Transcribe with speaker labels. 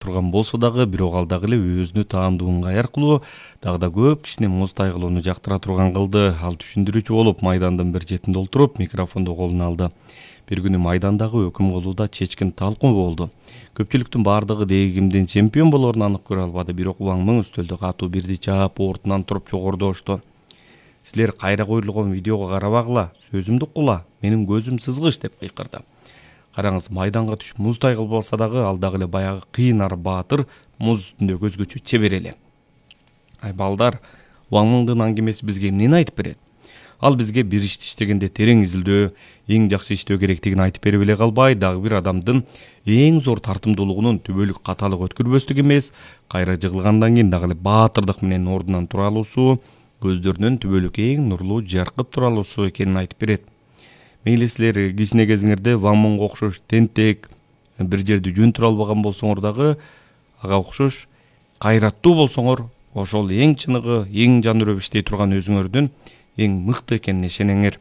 Speaker 1: турган болсо дагы, бирок ал дагы эле өзүнө таандуу ыңгай аркылуу дагы да көп кишини муз тайгылоону жактыра турган кылды. Ал түшүндүрүүчү болуп майдандын бир четинде отуруп микрофонду колуна алды. Бир күнү майдандагы өкүм кылууда чечкин талкуу болду. Көпчүлүктүн бардыгы деги кимдин чемпион болоорун анык көрө албады, бирок Ван Мын үстөлдө катуу бирди чаап, ордунан туруп жогорудошту. Силер кайра коюлгон видеого карабагыла, сөзүмдү уккула, менин көзүм сызгыч деп кыйкырды. Караңыз, майданга түшүп муз тайгылбаса дагы, ал дагы эле баягы кыйын ар баатыр, муз үстүндө көзгөчө чебер эле. Ай балдар, Ван Мындын аңгемеси бизге эмнени айтып берет? Ал бизге бир ишти иштегенде терең изилдөө, эң жакшы иштөө керектигин айтып берип эле калбай, дагы бир адамдын эң зор тартымдуулугунун түбөлүк каталык өткөрбөстүк эмес, кайра жыгылгандан кийин дагы эле баатырдык менен ордунан тура алуусу, көздөрүнөн түбөлүк эң нурлуу жаркып тура алуусу экенин айтып берет. Мейли силер кичине кезиңерде Ван Мынга окшош тентек, бир жерди жөнтүрө албаган болсоңор дагы, ага окшош кайраттуу болсоңор, ошол эң чыныгы, эң жан үрөп иштей турган өзүңөрдүн эң мыкты экенине ишенеңер.